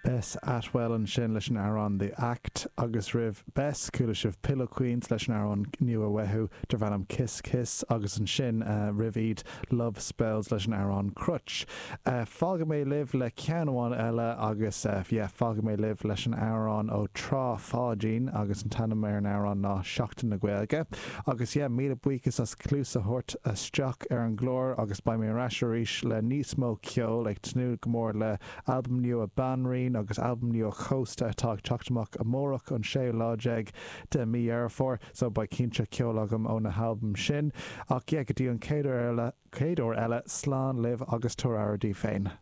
Bess Atwell ansin leis an amhrán The Act agus roimh Bess, chuala sibh Pillow Queens leis an amhrán nua uathu darb ainm Kiss Kiss agus ansin roimh iad Love Spells leis an amhrán Crutch. Fágfaidh mé libh le ceann amháin eile agus yeah fágfaidh mé libh leis an amhrán ó Trá Pháidín agus an t-ainm ar an amhrán ná Seachtain na Gaeilge. Agus yeah míle buíochas as cluas a thabhairt isteach ar an gclár agus beidh mé ar ais arís le níos mó ceoil ag tnúth go mór le Albam nua Banríon agus albam nua Chósta atá ag teacht amach amárach an séú lá déag de mí Dheireadh Fómhair so beidh cinnte ceol agam ó na halbaim sin. Ach yeah, go dtí an chéad uair eile, chéad uair eile, slán libh agus tabhair aire daoibh féin.